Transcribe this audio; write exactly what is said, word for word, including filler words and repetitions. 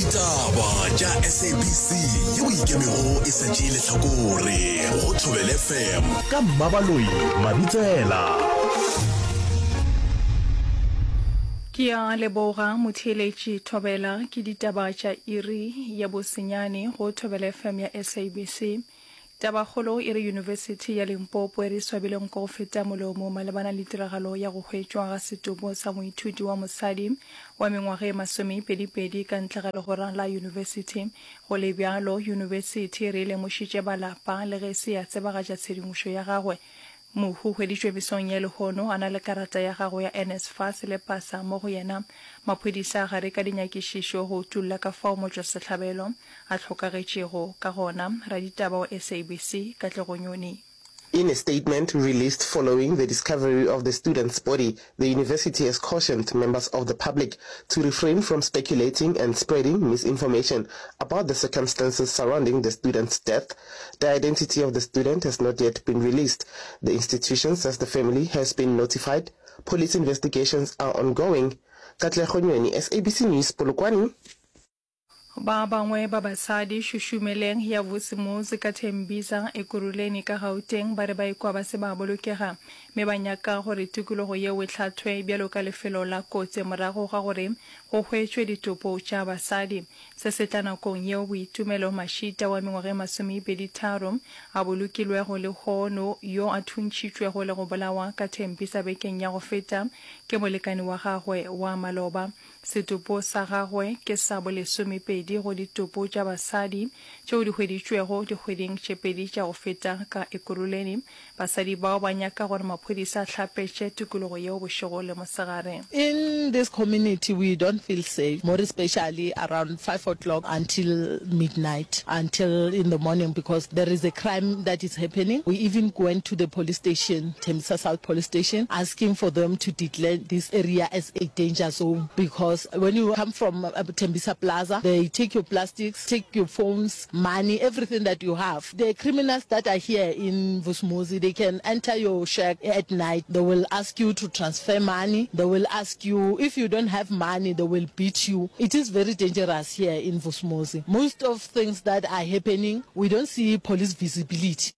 Ditaba tša S A B C yeo ikemego e sa tšee lehlakore go Thobela F M ka Mmabaloi Mabitsela. Ke a leboga motheeletši Thobela ke ditaba tša iri ya bosenyane go Thobela F M ya S A B C. Tabakgolo e re Yunibesithi ya Limpopo e re swabile nko go feta molomo malebana le tiragalo ya go hwetšwa ga setopo sa moithuti wa mosadi wa mengwaga e masomepedipedi ka ntle ga legora la yunibesithi. Go le bjalo, yunibesithi e re e lemošitše ba lapa le ge e se ya tsebagatša tshedimošo ya gagwe. Mohu hweditšwe mesong ya lehono a na le karata ya gagwe ya NSFAS le pasa mo go yena. Maphodisa a gare ka dinyakišišo go utulla ka fao motšwasehlabelo a hlokagetšego ka gona. Raditaba wa S A B C, Katlego Nyoni. In a statement released following the discovery of the student's body, the university has cautioned members of the public to refrain from speculating and spreading misinformation about the circumstances surrounding the student's death. The identity of the student has not yet been released. The institution says the family has been notified. Police investigations are ongoing. Katlego Nyoni, S A B C News, Polokwane. Ba bangwe ba basadi šušumeleng ya Vusimuzi ka Tembisa, Ekurhuleni ka Gauteng ba re ba ikwa ba se ba bolokega mme ba nyaka gore tikologo yeo e hlathwe bjalo ka lefelo la kotsi morago ga gore go hwetšwe ditopo tša basadi. Se se tla nakong yeo Boitumelo Mashita wa mengwaga e masomepedi tharo a bolokilwego lehono yo a thuntšhitšwego le go bolawa ka Tembisa bekeng ya go feta ke molekani wa gagwe wa maloba. Setopo sa gagwe ke sa bolesomepedi go ditopo tša basadi tšeo di hweditšwego dikgweding tše pedi tša go feta ka Ekurhuleni. Basadi bao ba nyaka gore maphodisa a hlapetše tikologo yeo bošego le mosegare. In this community we don't feel safe, more especially around five o'clock until midnight, until in the morning because there is a crime that is happening. We even went to the police station, Tembisa South Police Station, asking for them to declare this area as a danger zone because when you come from uh, Tembisa Plaza, they take your plastics, take your phones, money, everything that you have. The criminals that are here in Vusumuzi, they can enter your shack at night. They will ask you to transfer money. They will ask you, if you don't have money, they will beat you. It is very dangerous here in Vusumuzi. Most of things that are happening, we don't see police visibility.